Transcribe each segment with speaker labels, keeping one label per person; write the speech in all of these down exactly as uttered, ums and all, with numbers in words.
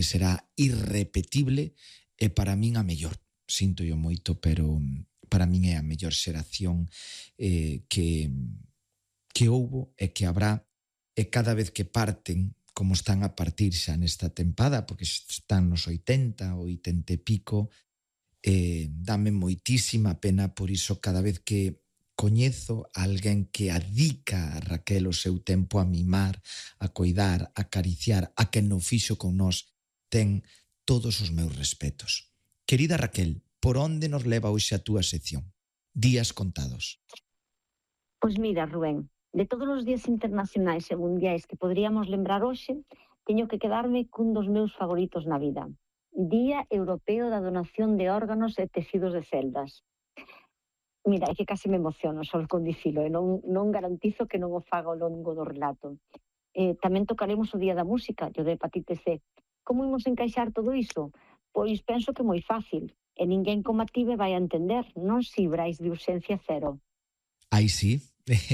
Speaker 1: que será irrepetible e para min a mellor. Sinto yo moito, pero para min é a mellor xeración eh, que, que houbo e que habrá, e cada vez que parten, como están a partir xa nesta tempada, porque están nos oitenta, oitenta e pico, eh, dame moitísima pena, por iso cada vez que coñezo a alguén que adica a Raquel o seu tempo a mimar, a coidar, a acariciar, a quen non fixo con nós, ten todos os meus respetos. Querida Raquel, por onde nos leva hoxe a túa sección? Días contados.
Speaker 2: Pois mira, Rubén, de todos os días internacionais e mundiais que poderíamos lembrar hoxe, teño que quedarme cun dos meus favoritos na vida. Día Europeo da Donación de Órganos e Tecidos de Celdas. Mira, é que casi me emociono só con dicilo, e non, non garantizo que non o faga ao longo do relato. Eh, tamén tocaremos o Día da Música, o de hepatite C. Como imos encaixar todo iso? Pois penso que moi fácil, e ninguén como a ti me vai a entender, non si Brais de urxencia cero.
Speaker 1: Aí sí,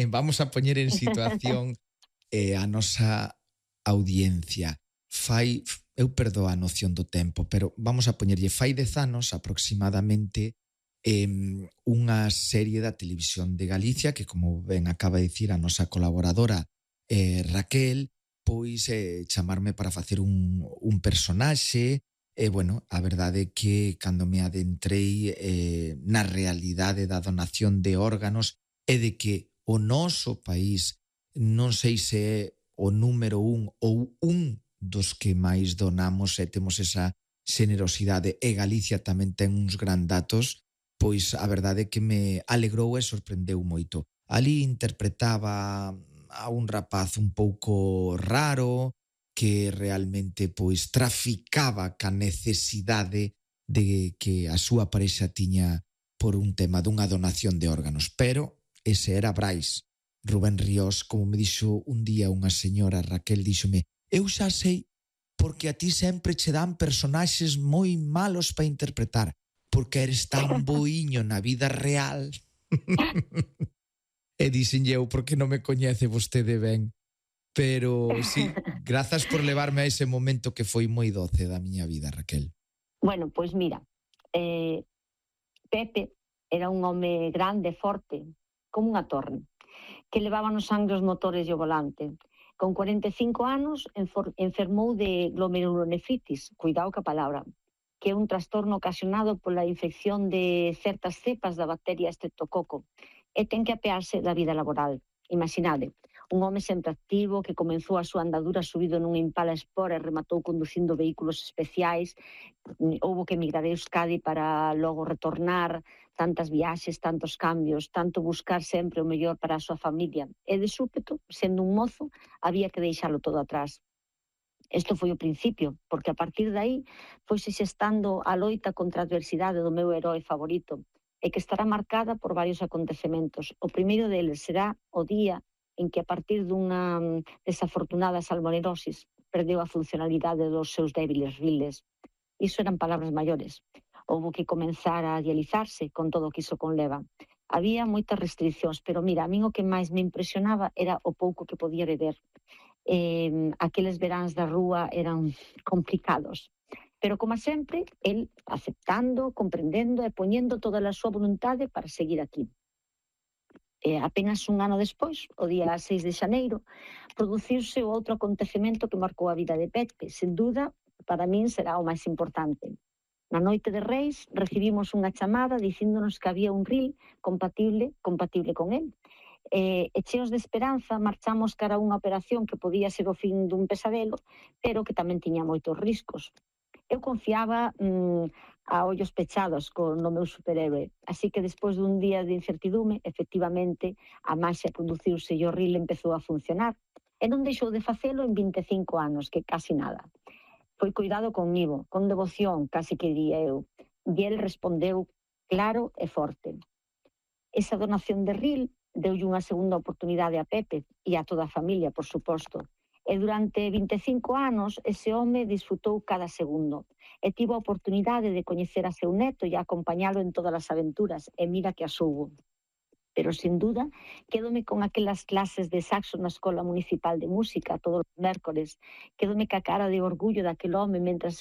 Speaker 1: vamos a poñer en situación eh, a nosa audiencia. Fai, eu perdo a noción do tempo, pero vamos a poñerlle fai dez anos aproximadamente eh, unha serie da televisión de Galicia que, como ben acaba de dicir a nosa colaboradora eh, Raquel, pois eh, chamarme para facer un, un personaxe. E, bueno, a verdade é que cando me adentrei eh, na realidade da donación de órganos é de que o noso país, non sei se é o número un ou un dos que máis donamos e temos esa xenerosidade, e Galicia tamén ten uns gran datos, pois a verdade é que me alegrou e sorprendeu moito. Ali interpretaba a un rapaz un pouco raro, que realmente pois traficaba ca necesidade de que a súa parexa tiña por un tema dunha donación de órganos. Pero ese era Brais. Rubén Ríos, como me dixo un día unha señora, Raquel, díxome: eu xa sei porque a ti sempre che dan personaxes moi malos para interpretar, porque eres tan boiño na vida real. E dixenlle eu, porque non me coñece vostede ben. Pero sí, grazas por levarme a ese momento que foi moi doce da miña vida, Raquel.
Speaker 2: Bueno, pois mira, eh, Pepe era un home grande, forte, como unha torre, que levaba no sangue os motores e o volante. Con cuarenta e cinco anos enfermou de glomerulonefritis, cuidado ca palabra, que é un trastorno ocasionado pola infección de certas cepas da bacteria estreptococo, e ten que apearse da vida laboral. Imaginade, un home sempre activo que comenzou a súa andadura subido nun Impala Sport e rematou conducindo vehículos especiais. Houbo que emigrar a Euskadi para logo retornar, tantas viaxes, tantos cambios, tanto buscar sempre o mellor para a súa familia. E de súpeto, sendo un mozo, había que deixalo todo atrás. Isto foi o principio, porque a partir de aí foise xestando a loita contra a adversidade do meu heroe favorito, e que estará marcada por varios acontecementos. O primeiro deles será o día en que, a partir dunha desafortunada salmonelosis, perdeu a funcionalidade dos seus débiles riles. Iso eran palabras maiores. Houbo que comenzar a dializarse con todo o que iso conleva. Había moitas restriccións, pero mira, a min o que máis me impresionaba era o pouco que podía beber. Eh, aqueles veráns da rúa eran complicados. Pero, como sempre, el aceptando, comprendendo e poñendo toda a súa voluntade para seguir aquí. E apenas un ano despois, o día seis de xaneiro, produciuse o outro acontecemento que marcou a vida de Pepe. Sen dúda, para min será o máis importante. Na noite de Reis recibimos unha chamada dicíndonos que había un ril compatible, compatible con el. E, e cheos de esperanza marchamos cara a unha operación que podía ser o fin dun pesadelo, pero que tamén tiña moitos riscos. Eu confiaba mmm, a ollos pechados con o meu superhéroe, así que despois dun día de incertidume, efectivamente, a maxia produciuse e o ril empezou a funcionar, e non deixou de facelo en vinte e cinco anos, que casi nada. Foi cuidado conmigo, con devoción, casi que diría eu, e el respondeu claro e forte. Esa donación de ril deulle unha segunda oportunidade a Pepe e a toda a familia, por suposto. E durante vinte e cinco anos ese home disfrutou cada segundo e tivo a oportunidade de coñecer a seu neto e acompañalo en todas as aventuras, e mira que as houbo. Pero, sin duda, quédome con aquelas clases de saxo na Escola Municipal de Música todos os mércores, quédome ca cara de orgullo daquel home mentras